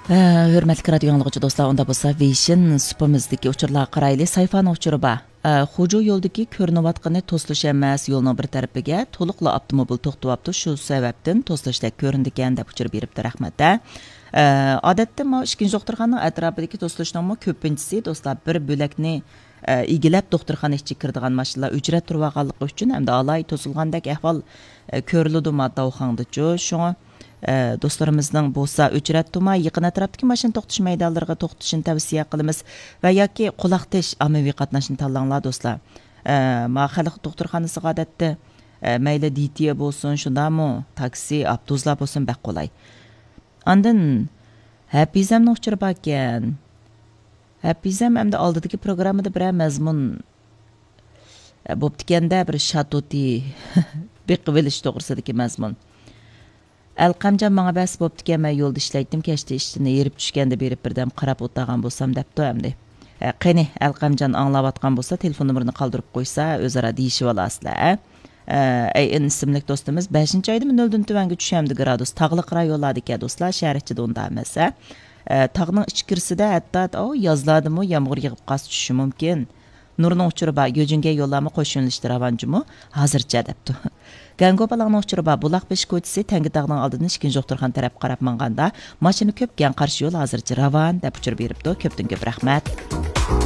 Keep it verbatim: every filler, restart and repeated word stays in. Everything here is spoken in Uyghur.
ھە، ھۆرمەتلىك رادىيو ئاڭلىغۇچى دوستلار، ئۇندا بولسا ۋېيشىن سۇپىمىزدىكى ئۇچۇرلارغا قارايلى. سايفانىڭ ئۇچۇرى بار. ئە، خۇجۇ يولىدىكى كۆرۈنۈۋاتقىنى توسۇلۇش ئەمەس، يولنىڭ بىر تەرىپىگە تولۇقلا ئاپتوموبىل توختىۋاپتۇ، شۇ سەۋەبتىن توسۇلۇشتەك كۆرۈنىدىكەن، دەپ ئۇچۇر بېرىپتۇ. رەھمەت. ھە. ئە، ئادەتتە ماۋۇ ئىككىنچى دوختۇرخانىنىڭ ئەتراپىدىكى توسۇلۇشنىڭمۇ كۆپىنچىسى، دوستلار، بىر بۆلەكنى، ئە، ئىگىلەپ دوختۇرخانا ئىچىگە كىرىدىغان ماشىنىلار ئۆچرەت تۇرۇۋالغانلىقى ئۈچۈن ھەمدە ئالاھىدە توسۇلغاندەك ئەھۋال، ئە، كۆرۈلىدۇ ما داۋخاڭدىچۇ. شۇڭا، ئە، دوستلىرىمىزنىڭ بولسا ئۆچرەت تۇرماي يېقىن ئەتراپتىكى ماشىنا توختىتىش مەيدانلىرىغا توختىشىنى تەۋسىيە قىلىمىز ۋە ياكى قۇلاق تىش ئاممىۋى قاتناشنى تاللاڭلار، دوستلار. ئە، ما خەلق دوختۇرخانىسىغا ئادەتتە، ئە، مەيلى دىتىيە بولسۇن، شۇنداقمۇ تاكسى، ئاپتوبۇسلار بولسۇن، بەك قولاي. ئاندىن ھەپىزەمنىڭ ئۇچۇرى باركەن. ھەپىزەم ئەمدى ئالدىدىكى پروگراممىدا بىرەر مەزمۇن، ئە، بوپتىكەندە، بىر شاتۇتى بېقىۋېلىش توغرىسىدىكى مەزمۇن. ئەلقەمجان ماڭا بەس بوپتىكەن، مەن يولدا ئىشلەيتتىم، كەچتە ئىشتىن ھېرىپ چۈشكەندە بېرىپ بىردەم قاراپ ئولتۇرغان بولسام دەپتۇ ئەمدى. ئە، قېنى، ئەلقەمجان ئاڭلاۋاتقان بولسا، تېلېفون نومۇرىنى قالدۇرۇپ قويسا، ئۆزئارا دېيىشىۋالارسىلەر، ئە. ئە، ئەي ئىن ئىسىملىك دوستىمىز، بەشىنچى ئايدىمۇ نۆلدىن تۆۋەنگە چۈشەمدۇ گرادۇس؟ تاغلىق رايونلاردىكەن دوستلار، شەھەر ئىچىدە ئۇنداق ئەمەس، ھە. ئە، تاغنىڭ ئىچكىرىسىدە ھەتتا، ئاۋۇ يازلاردىمۇ يامغۇر يېغىپ قارسا چۈشۈشى مۇمكىن. نۇرنىڭ ئۇچۇرى بار، گۆجۈڭگەي يوللارمۇ قوش يۆنىلىشتە راۋانجۇمۇ؟ ھازىرچە دەپتۇ. گەڭگو بالاڭنىڭ ئۇچۇرى بار، بۇلاق بېشى كوچىسى تەڭگە تاغنىڭ ئالدىدىن ئىككىنچى دوختۇرخانا تەرەپكە قاراپ ماڭغاندا، ماشىنا كۆپ، گەڭ قارشى يول ھازىرچە راۋان، دەپ ئۇچۇر بېرىپتۇ. كۆپتىن كۆپ رەھمەت.